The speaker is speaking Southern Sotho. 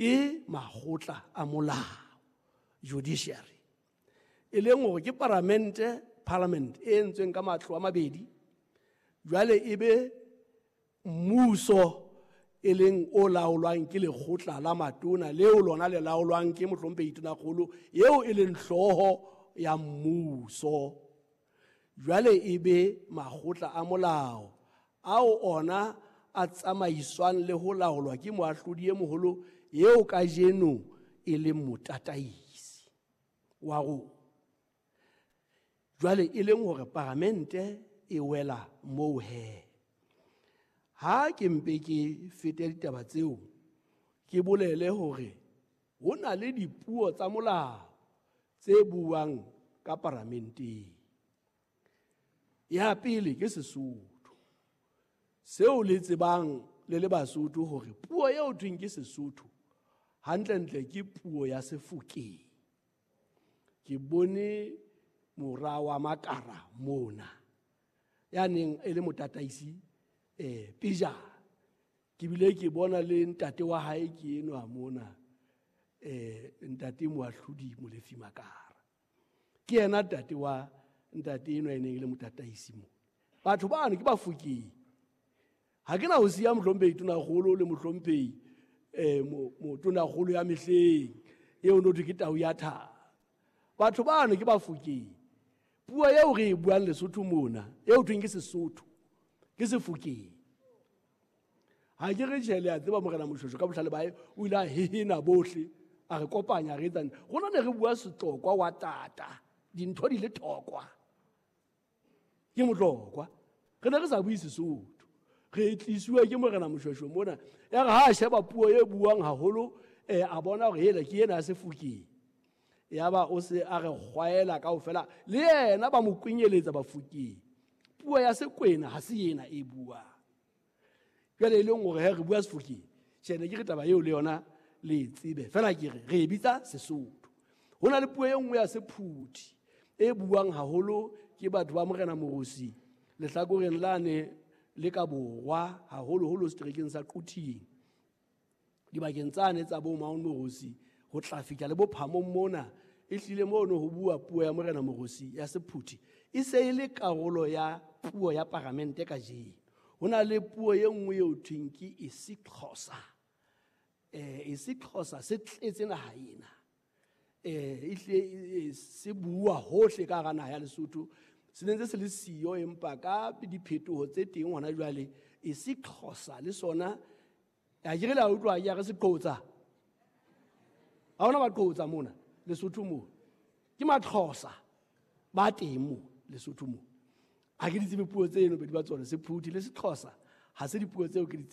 Ke makgotla a molao, judiciary, e leng hore ke paramente, parliament e entsweng ka matlo a mabedi. Jwale e be mmuso e leng o laolwang ke lekgotla la matona, leo lona le laolwang ke mohlomphehi tonakgolo eo e leng hlooho ya mmuso. Jwale e be makgotla a molao ao ona a tsamaiswang le ho laolwa ke moahlodi e moholo eo kajeno e leng motataisi wa rona. Jwale e leng hore paramente e wela moo he. Ha ke mpe ke fete ditaba tseo, ke bolele hore ho na le dipuo tsa molao tse buang ka paramenteng. Ya pele ke Sesotho. Seo le tsebang le le Basotho hore puo eo thweng ke Sesotho hantlentle ke puo ya Sefokeng. Ke bone mora wa Makara mona ya neng e le motataisi pejana. Ke bile ke bona le ntate wa hae ke enwa mona, ntate Moahlodi Molefi Makara. Ke yena ntate wa ntate enwa e neng e le motataisi mona. Batho bano ke Bafokeng. Ha ke na ho siya mohlomphehi tonakgolo le mohlomphehi motonakgolo ya mehleng eo no thwe ke tau ya thaba. Batho bano ke Bafokeng. Puo eo re e buang Lesotho mona, eo thweng ke Sesotho, ke Sefokeng. Ha ke re tjhe, le a tseba Morena Moshoeshoe ka bohlale ba hae o ile a hehena bohle, a re kopanya, re etsang. Rona ne re bua Setlokwa wa tata, dintho di le thokwa. Ke motlokwa. Re ne re sa bue Sesotho. Re tlisuwe ke Morena Moshoeshoe mona. Ya re ha a sheba puo e buang haholo, a bona hore hela ke ena ya Sefokeng. Yaba o se a re kgwaela kaofela, le yena ba mo kwenyeletsa Bafokeng. Puo ya Sekwena ha se ena e buang. Jwale e leng hore he re bua Sefokeng, tjhe, ne ke re taba eo le yona le e tsebe. Feela ke re, re e bitsa Sesotho. Ho na le puo e nngwe ya Sephuthi e buang haholo ke batho ba Morena Morosi lehlakoreng lane le ka borwa, haholoholo seterekeng sa Quthing. Dibakeng tsane tsa bo Mount Morosi ho tla fihla le bophamong mona, e hlile mono ho bua puo ya Morena Morosi ya Sephuthi e se e le karolo ya puo ya paramente kajeno. Ho na le puo e nngwe eo thweng ke isiXhosa. isiXhosa se tletse naha ena. E hlile se bua hohle ka hara naha ya Lesotho. Se ne ntse se le siyo, empa ka diphetoho tse teng hona jwale isiXhosa le sona, a ke re le a utlwa, ke a re seqotsa. Ha hona maqotsa mona Lesotho mo. Ke Maxhosa ba teng mo Lesotho mo. Ha ke di tsebe puo tseno bedi ba tsona, Sephuthi le Sexhosa ha se dipuo tseo ke di tsebang.